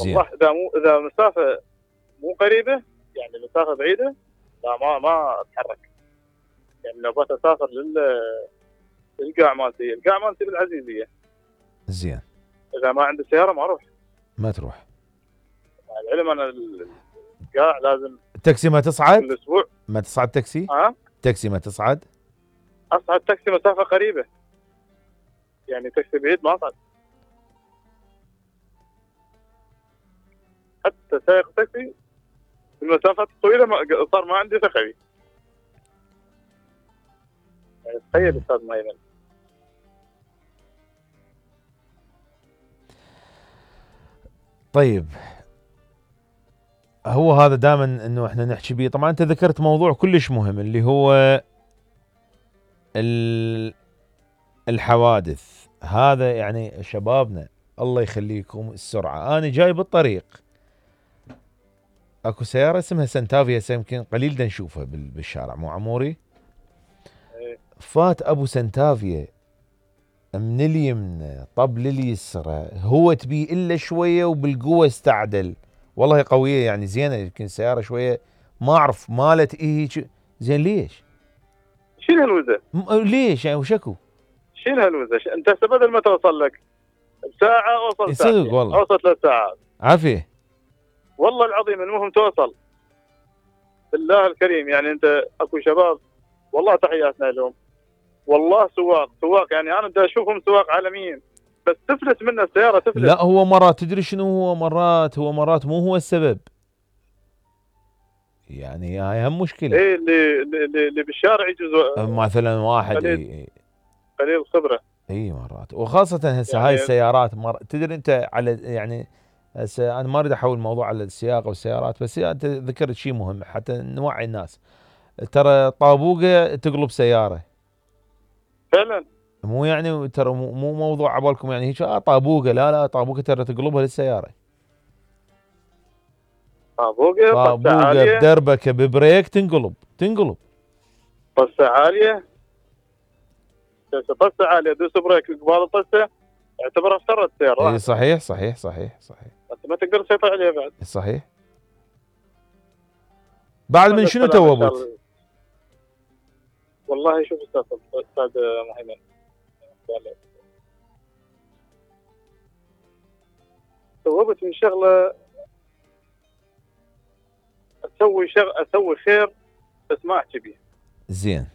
زين. والله اذا مسافه مو قريبه، يعني مسافه بعيده، لا ما اتحرك. يعني لو بس اسافر للقاع مالتي، القاع مالتي بالعزيزيه. زين. اذا ما عندي سياره ما اروح. ما تروح. مع العلم انا القاع لازم التاكسي ما تصعد؟ كل اسبوع. ما تصعد تاكسي؟ ها؟ تاكسي ما تصعد؟ اصعد تاكسي مسافه قريبه، يعني تاكسي بعيد ما اصعد. حتى سائق تاكسي المسافات الطويله صار ما عندي ثقه فيه. يعني تخيل استاذ مايمن. طيب هو هذا دائما انه احنا نحكي بيه. طبعا انت ذكرت موضوع كلش مهم اللي هو الحوادث. هذا يعني شبابنا الله يخليكم السرعه. انا جاي بالطريق اكو سياره اسمها سنتافيا، يمكن قليل دا نشوفها بالشارع، مو عموري؟ فات ابو سنتافيا من اليمنى طب لليسرى، هو تبي الا شويه وبالقوه استعدل. والله قويه يعني زينه، يمكن سياره شويه ما اعرف مالت ايه زين. ليش؟ شيل هالوزه. ليش يعني وشكو؟ شيل هالوزه. انت هسه بدل ما توصل لك بساعه اوصل صدق والله. اوصل 3 ساعات. عافيه. والله العظيم المهم توصل. بالله الكريم يعني انت اكو شباب والله تحياتنا لهم. والله سواق يعني انا بدي اشوفهم سواق عالميين، بس تفلت منه السياره تفلت. لا هو مرات تدري شنو هو، مرات مو هو السبب. يعني هاي هم مشكله. ايه اللي بالشارع يجوز مثلا واحد قليل خبره. اي مرات، وخاصه هسه يعني هاي السيارات تدري انت على يعني هسه انا ما اريد احول الموضوع على السياقه والسيارات، بس انت ذكرت شيء مهم حتى نوعي الناس. ترى طابوقه تقلب سياره فعلا. مو يعني ترى مو موضوع عبالكم يعني هيك طابوقه، لا طابوقه ترى تقلبها للسياره. طابوقه بدربكه ببريك تنقلب طسه عاليه. طسه عاليه دوس بريك قبال الطسه اعتبرها افترت السياره. اي صحيح. انت ما تقدر تسيطر عليها بعد. صحيح. بعد من شنو توبت؟ والله شوف استاذ مهيمن، توبت من شغله اسوي خير بس ما احكي بيه. زين.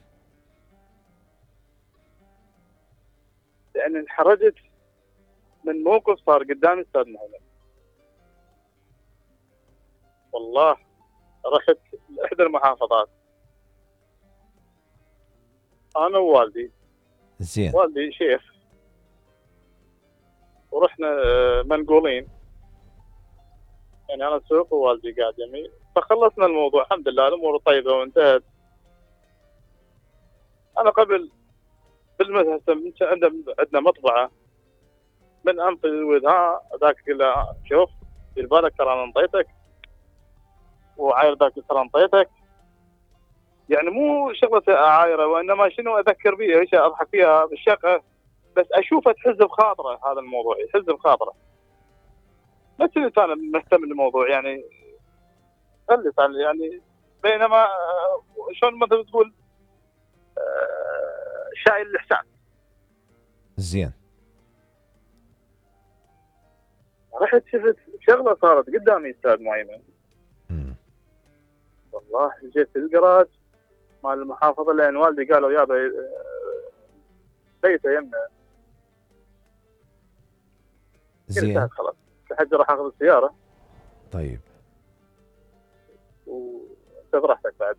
لان انحرجت من موقف صار قدامي استاذ مهيمن. والله رحت لاحدى المحافظات انا ووالدي. زين. والدي شيخ، ورحنا منقولين، يعني انا اسوق ووالدي قاعد يمي، فخلصنا الموضوع الحمد لله الامور طيبه وانتهت. انا قبل بالمدرسه عندنا مطبعه من انطي ها ذاك له شوف دير بالك ترى انا انطيتك، وعاير ذاك ترى انطيتك. يعني مو شغله عايره، وانما شنو اذكر بيها ايش اضحك فيها بالشقه، بس اشوفه تحز بخاطره. هذا الموضوع يحز بخاطره، بس انا مهتم بالموضوع يعني خلي يعني. بينما شلون مثل تقول شايل الاحسان. زين. رحت شفت شغله صارت قدامي استاذ مهيمن. والله جيت الجراج مال المحافظه لان والدي قالوا يابا بيته يمنا. زين. خلاص لحد راح اخذ السياره. طيب. وانت براحتك بعد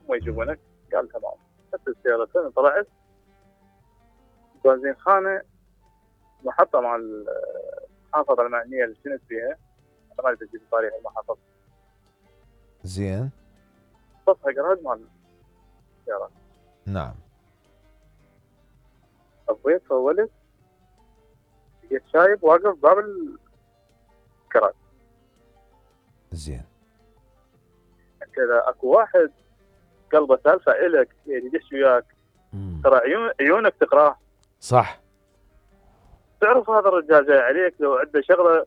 هم يجيبونك. قال تمام. خدت السيارتين طلعت بنزين خانه محطه مع المحافظه المعنيه اللي كنت فيها. انا ما ادري اجيب تاريخ المحافظه. زين. سطح جراج مال السيارات. نعم. طبيت فولت لقيت شايب واقف باب الكراج. زين. انت اذا اكو واحد قلبه سالفه الك يعني يدش وياك ترى عيونك تقراه. صح. تعرف هذا الرجال جاي عليك لو عنده شغله